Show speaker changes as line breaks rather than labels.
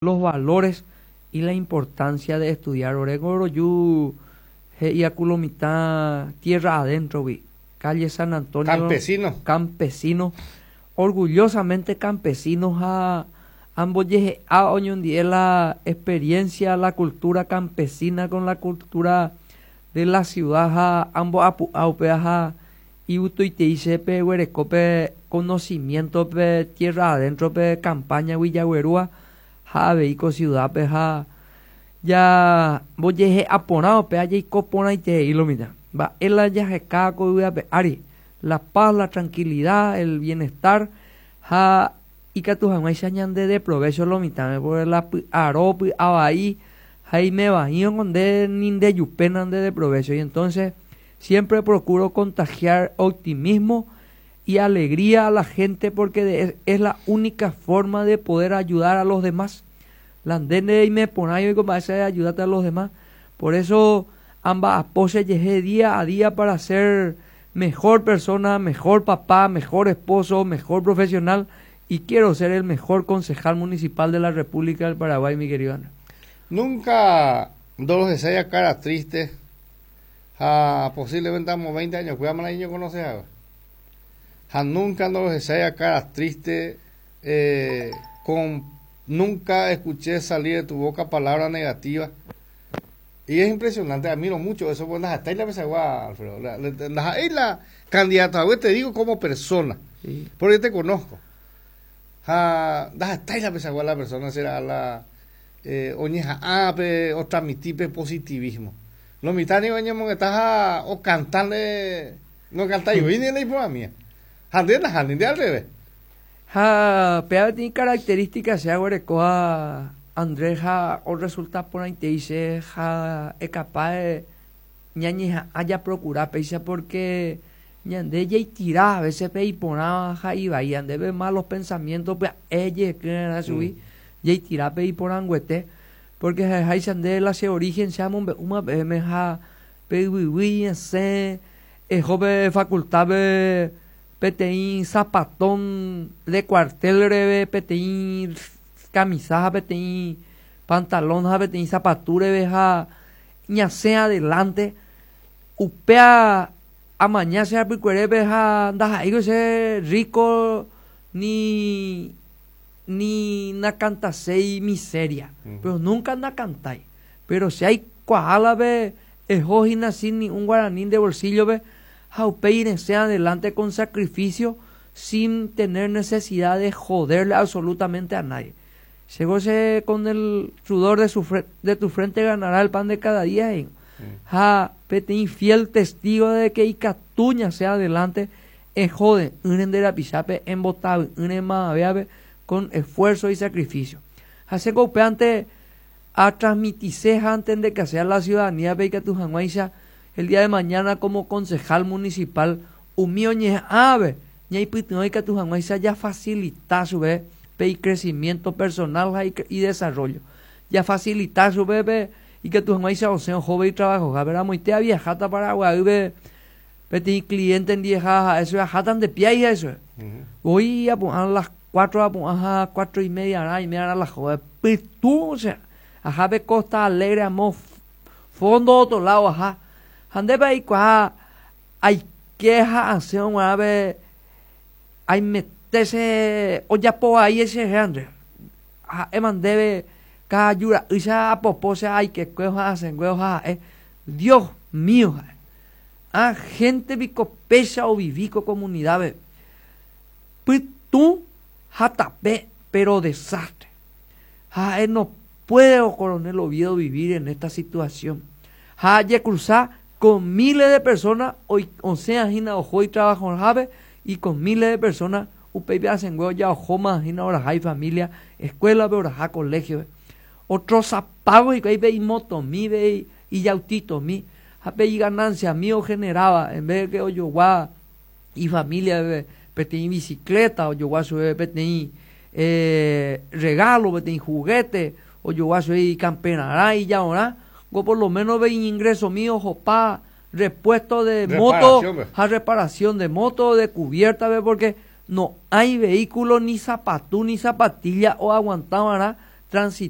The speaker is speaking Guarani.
Los valores y la importancia de estudiar. Oréngo roju he'íaku lo mitã tierra adentro-gui, calle San Antonio.
Campesino.
Campesino, orgullosamente campesino ha ambojehe'a oñondive la experiencia, la cultura campesina con la cultura de la ciudad ha ambo'apu'a upéva ha igustoitei che pe guereko pe conocimiento pe tierra adentro pe campaña-gui jaguerúva ha avei ko ciudad-pe ha ja mbojehe'a porã upéva jaiko porãiterei lo mitã. Mba'e la jaheka ko yvy ape ári, la paz, la tranquilidad, el bienestar ha ikatu hag̃uáicha ñande deprovecho lo mitãme, porque la py'aro, py'avai ha imevaíõ ko nde ni ndejupe nande deprovecho y entonces siempre procuro contagiar optimismo y alegría a la gente porque de es la única forma de poder ayudar a los demás. La nde nereime porãi oiko mba'éicha ayudáta a los demás. Por eso amba'apo chejehe día a día para ser mejor persona, mejor papá, mejor esposo, mejor profesional y quiero ser el mejor concejal municipal de la República del Paraguay, mi querido Ana.
Nunca ndorohechái cara triste ha posiblemente amo 20 años cuidame la conoce haga. Ha nunca ndorohechái cara triste con nunca escuché salir de tu boca palabra negativa. Y es impresionante, admiro mucho eso, pues las la pesagua, Alfredo. La, la, la, candidata, te digo como persona, sí. Porque te conozco. Ha, la pesagua la persona será la oñeha'ãpe o transmitirpe positivismo. Lo mitad ni oñemongetá o cantarle, no cantáis ni la informa mía. Jande na jande al revés.
Ha péva peteĩ característica che aguerekóva Andrés ha oresulta porãitei che ha ecapaz ñañeha'ã japrocura péicha porque ñande jaitira a veces pe iporãva ha ivai ñandéve malos pensamientos pya'e jehekýrã chugui jaitira pe iporãnguete porque ha'eháicha nde la che origen che amombe'úma peẽme ha pe yvyguy esẽ eho pe facultad-pe peteĩ zapatón de cuartel reve peteĩ camisa ha peteĩ pantalón ha peteĩ sapatu reve ha ñasẽ adelante upéa amaña che apykuerépe ha ndaha'éiko che rico ni ni nakantaséi miseria pero nunca nakantái pero che aikuaálape eho hína sin ni un guaraní nde bolsillo-pe ha upéi resẽ adelante con sacrificio sin tener necesidad de joderle absolutamente a nadie. Chéko che con el sudor de su de tu frente ganará el pan de cada día he'i. Ha peteĩ fiel testigo de que ikatu ñasẽ adelante ehode'ỹre nde rapichápe embotavy'ỹre mavavévape con esfuerzo y sacrificio. Ha chéko upévante atransmitise ha antendekase a la ciudadanía-pe ikatu hag̃uáicha el día de mañana como concejal municipal umi oñeha'ãve ñaipytyvõ ikatu hag̃uáicha jafacilita chupe pe icrecimiento personal ha idesarrollo. Jafacilita chupe pe ikatu hag̃uáicha osẽ ohóve itrabajohápe. Ramoite aviajáta Paraguaýpe peteĩ cliente ndive ha ha'e chupe aháta nde piái ha'e chupe. Voi apu'ã las 4 apu'ã ha 4 y media arã aime arã la hógape. Pytũ che ahápe Costa Alegre amo fondo otro lado aha. Ha ndépa aikuaa aike ha asẽ og̃uarãpe aimete che ojapo vai cherehe Andrés. Ha'éma ndéve ka'aju ra'ýicha apopo che aikekuévo ha asẽnguévo ha ha'e Dios mío ha'e. Ha gente piko péicha ovivi ko comunidad-pe. Pytũ ha tape pero desastre. Ha ha'e no puede Coronel Oviedo vivir en esta situación. Ha jecruza con miles de personas osẽa hína oho itrabajohápe y con miles de personas upéipe asẽngue ojaohóma hína oraha ifamilia escuela-pe oraha colegio-pe. Otrozapávo hikuái pe imotomi, ijautitomi ha pe igananciami ogeneráva en vez de que ojogua ifamilia-pe peteĩ bicicleta, ojogua chupe peteĩ regalo, peteĩ juguete, ojogua chupe ikamperarã, ijaorã, ngo por lo menos pe iñingresomi ohopa repuesto de moto ha reparación de moto, de cubierta-pe, porque no hay vehículo ni sapatu ni zapatilla oaguantava'erã Transitar.